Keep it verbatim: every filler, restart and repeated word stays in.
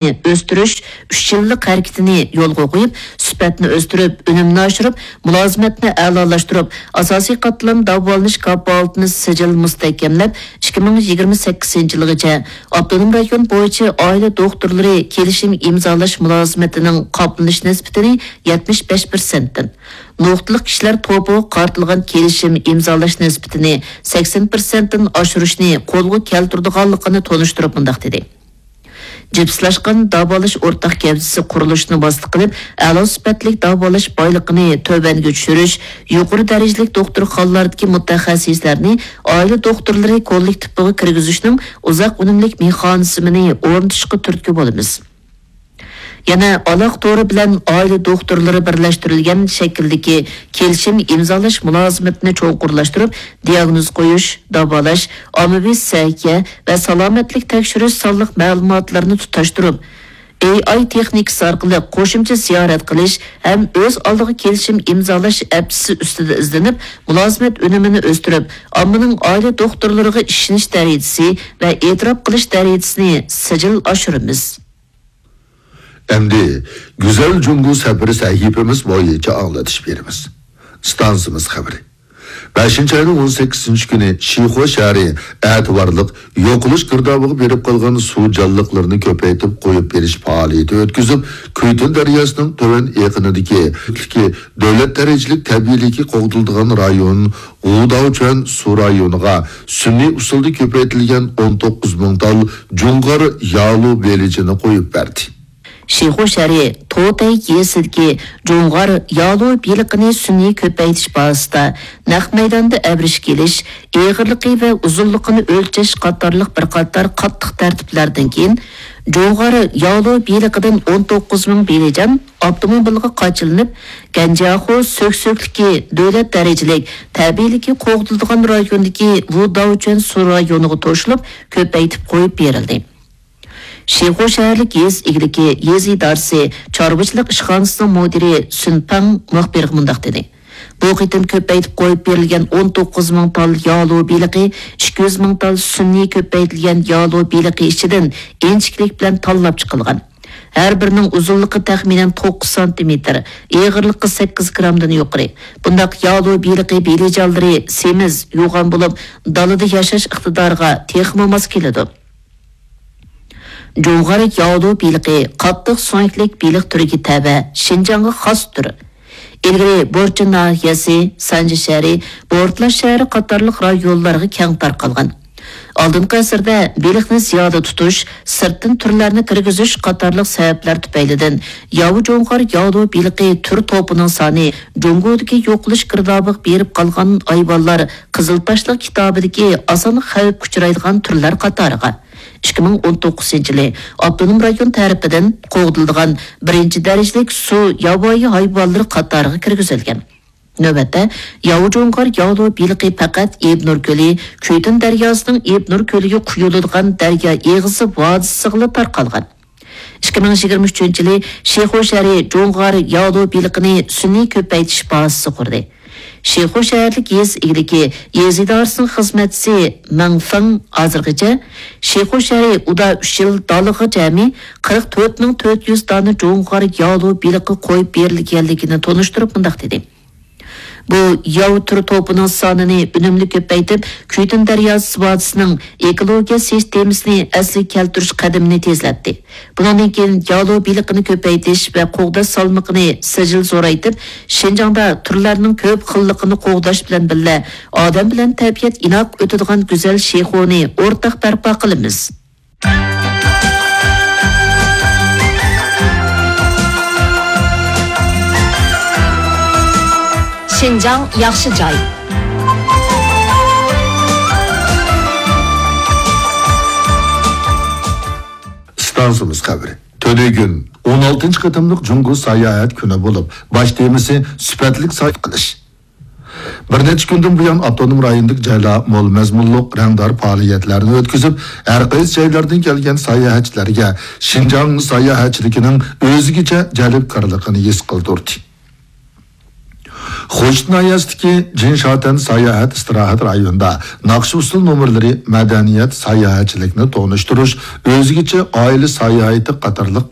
ئۆستۈرۈش ئۈچ يىللىق ھەرىكىتىنى يولغا قويۇپ، سۈپەتنى ئۆستۈرۈپ، ئۈنۈمنى ئاشۇرۇپ، مۇلازىمەتنى ئەلالاشتۇرۇپ، ئاساسىي قاتلام داۋالىنىش كاپالىتىنى سىجىل مۇستەھكەملەپ، ئىككى مىڭ يىگىرمە سەككىزىنچى يىلغىچە ئاپتونوم رايون بويىچە ئائىلە دوختۇرلىرى كېلىشىم ئىمزالاش مۇلازىمىتىنىڭ قاپلىنىش نىسبىتىنى يەتمىش بەش پىرسەنتتىن، نۇقتىلىق كىشىلەر توپىغا قارىتىلغان كېلىشىم ئىمزالاش نىسبىتىنى سەكسەن پىرسەنتتىن ئاشۇرۇشنى قولغا كەلتۈرىدىغانلىقىنى تونۇشتۇرۇپ مۇنداق دېدى: جىپسلاشقان داۋالاش ئورتاق گەۋدىسى قۇرۇلۇشىنى ۋاسىتە قىلىپ، ئەلا سۈپەتلىك داۋالاش بايلىقىنى تۆۋەنگە چۈشۈرۈش، يۇقىرى دەرىجىلىك دوختۇرخانىلاردىكى مۇتەخەسسىسلەرنى ئائىلە دوختۇرلىرى كوللېكتىپىغا كىرگۈزۈشنىڭ ئۇزاق ئۈنۈملۈك مېخانىزمىنى ئورنىتىشقا تۈرتكە بولىمىز. يەنە ئالاقە تورى بىلەن ئائىلە دوختۇرلىرى بىرلەشتۈرۈلگەن شەكىلدىكى كېلىشىم ئىمزالاش مۇلازىمىتىنى چوڭقۇرلاشتۇرۇپ، دىياگنوز قويۇش، داۋالاش، ئاممىۋى سەھىيە ۋە سالامەتلىك تەكشۈرۈش سانلىق مەلۇماتلىرىنى تۇتاشتۇرۇپ، ئېي ئاي تېخنىكىسى ئارقىلىق قوشۇمچە زىيارەت قىلىش ھەم ئۆز ئالدىغا كېلىشىم ئىمزالاش ئەپسى ئۈستىدە ئىزدىنىپ، مۇلازىمەت ئۈنۈمىنى ئۆستۈرۈپ، ئاممىنىڭ ئائىلە دوختۇرلىرىغا ئىشىنىش دەرىجىسى ۋە ئېتىراپ قىلىش دەرىجىسىنى سىجىل ئاشۇرىمىز. ئەمدى گۈزەل جۇڭگو سەپىرى سەھىپىمىز بويىچە ئاڭلىتىش بېرىمىز. ئىستانسىمىز خەۋىرى. بەشىنچى ئاينىڭ ئون سەككىزىنچى كۈنى شىخۇ شەھىرى ئەتىۋارلىق يوقىلىش گىردابىغا بېرىپ قالغان سۇ جانلىقلىرىنى كۆپەيتىپ قويۇپ بېرىش پائالىيىتى ئۆتكۈزۈپ، كۈيتۈن دەرياسىنىڭ تۆۋەن ئېقىنىدىكى دۆلەت دەرىجىلىك تەبىئىيلىكى قوغدىلىدىغان رايون غۇداۋچۈەن سۇ رايونىغا سۈنئىي ئۇسۇلدا كۆپەيتىلگەن ئون توققۇز مىڭ تال جۇڭغار يالۇ بېلىجىنى قويۇپ بەردى. شىخۇ شەھىرى توتەي يېزىسىدىكى جۇڭغار يالۇ بېلىقىنى سۈنئىي كۆپەيتىش بازىسىدا نەق مەيداندا ئەۋرىشكە ئېلىش، ئېغىرلىقى ۋە ئۇزۇنلۇقىنى ئۆلچەش قاتارلىق بىر قاتار قاتتىق تەرتىپلەردىن كېيىن، جۇڭغار يالۇ بېلىقىدىن ئون توققۇز مىڭ بېلىجان ئاپتوموبىلغا قاچىلىنىپ، گەنجياخۇ سۆكسۆكلۈكى دۆلەت دەرىجىلىك تەبىئىيلىكى قوغدىلىدىغان رايوندىكى ۋۇداۋچۈەن سۇ رايونىغا توشۇلۇپ، كۆپەيتىپ قويۇپ بېرىلدى. شىخۇ شەھەرلىك يېزا ئىگىلىكى يېزا ئىدارىسى چارۋىچىلىق ئىشخانىسىنىڭ مۇدىرى سۈن پاڭ مۇخبىرغا مۇنداق دېدى: بۇ قېتىم كۆپەيتىپ قويۇپ بېرىلگەن ئون توققۇز مىڭ تال يالۇ بېلىقى، ئىككى يۈز مىڭ تال سۈنئىي كۆپەيتىلگەن يالۇ بېلىقى ئىچىدىن ئىنچىكىلىك بىلەن تاللاپ چىقىلغان. ھەر بىرىنىڭ ئۇزۇنلۇقى تەخمىنەن توققۇز سانتىمېتىر، ئېغىرلىقى سەككىز گرامدىن يۇقىرى. بۇنداق يالۇ بېلىقى بېلىجانلىرى سېمىز، يوغان بولۇپ، دالىدا ياشاش ئىقتىدارىغا تېخىمۇ ماس كېلىدۇ. جۇڭغار ياۋلۇ بېلىقى قاتتىق سۆڭەكلىك بېلىق تۈرىگە تەۋە، شىنجاڭغا خاس تۈر. ئىلگىرى بورچى ناھىيەسى، سانجى شەھىرى، بورتلا شەھىرى قاتارلىق رايونلارغا كەڭ تارقالغان. ئالدىنقى ئەسىردە بېلىقنى زىيادە تۇتۇش، سىرتتىن تۈرلەرنى كىرگۈزۈش قاتارلىق سەۋەبلەر تۈپەيلىدىن، ياۋا جۇڭغار ياۋلۇ بېلىقى تۈر توپىنىڭ سانى جۇڭگودىكى يوقىلىش گىردابىغا بېرىپ قالغان ھايۋانلار قىزىل تاشلىق كىتابىدىكى ئاسان خەۋپكە ئۇچرايدىغان تۈرلەر قاتارىغا، ئىككى مىڭ ئون توققۇزىنچى يىلى ئاپتونوم رايون تەرىپىدىن قوغدىلىدىغان بىرىنچى دەرىجىلىك سۇ ياۋايى ھايۋانلىرى قاتارىغا كىرگۈزۈلگەن. نۆۋەتتە، ياۋا جۇڭغار ياۋلۇ بېلىقى پەقەت ئىبنۇر كۆلى، كۈيتۈن دەرياسىنىڭ ئىبنۇر كۆلىگە قۇيۇلىدىغان دەريا ئېغىزى ۋادىسىغىلا تارقالغان. ئىككى مىڭ يىگىرمە ئۈچىنچى يىلى شىخۇ شەھىرى جۇڭغار ياۋلۇ بېلىقىنى سۈنئىي كۆپەيتىش بازىسى قۇردى. شىخۇ شەھەرلىك يېزا ئىگىلىكى يېزا ئىدارىسىنىڭ خىزمەتچىسى مېڭ فېڭ ھازىرغىچە شىخۇ شەھىرى ئۇدا ئۈچ يىل دالىغا جەمئىي قىرىق تۆت مىڭ تۆت يۈز دانە جۇڭغار ياۋلۇ بېلىقى قويۇپ بېرىلگەنلىكىنى تونۇشتۇرۇپ مۇنداق دېدى: بۇ ياۋ تۈر توپىنىڭ سانىنى ئۈنۈملۈك كۆپەيتىپ، كۈيتۈن دەرياسى ۋادىسىنىڭ ئېكولوگىيە سىستېمىسىنى ئەسلىگە كەلتۈرۈش قەدىمىنى تېزلەتتى. بۇنىڭدىن كېيىن يالۇ بېلىقىنى كۆپەيتىش ۋە قوغداش سالمىقىنى سىجىل زورايتىپ، شىنجاڭدا تۈرلەرنىڭ كۆپ خىللىقىنى قوغداش بىلەن بىللە، ئادەم بىلەن تەبىئەت ئىناق ئۆتىدىغان گۈزەل شىخۇنى ئورتاق بەرپا قىلىمىز. شىنجاڭ ياخشى جاي. ئىستانسىمىز خەۋىرى. تۈنۈگۈن ئون ئالتىنچى قېتىملىق جۇڭگو ساياھەت كۈنى بولۇپ، باش تېمىسى سۈپەتلىك ساياھەت قىلىش. بىر نەچچە كۈندىن بۇيان ئاپتونوم رايوندىكى جايلار مول مەزمۇنلۇق رەڭدار پائالىيەتلەرنى ئۆتكۈزۈپ، ھەر قايسى جايلاردىن كەلگەن ساياھەتچىلەرگە شىنجاڭ ساياھەتچىلىكىنىڭ ئۆزگىچە جەلپكارلىقىنى ھېس قىلدۇردى. خوجىت ناھىيەسىدىكى جىنشاتەن ساياھەت ئىستىراھەت رايونىدا ناخشا-ئۇسسۇل نومۇرلىرى، مەدەنىيەت، ساياھەتچىلىكنى تونۇشتۇرۇش، ئۆزگىچە ئائىلە ساياھىتى قاتارلىق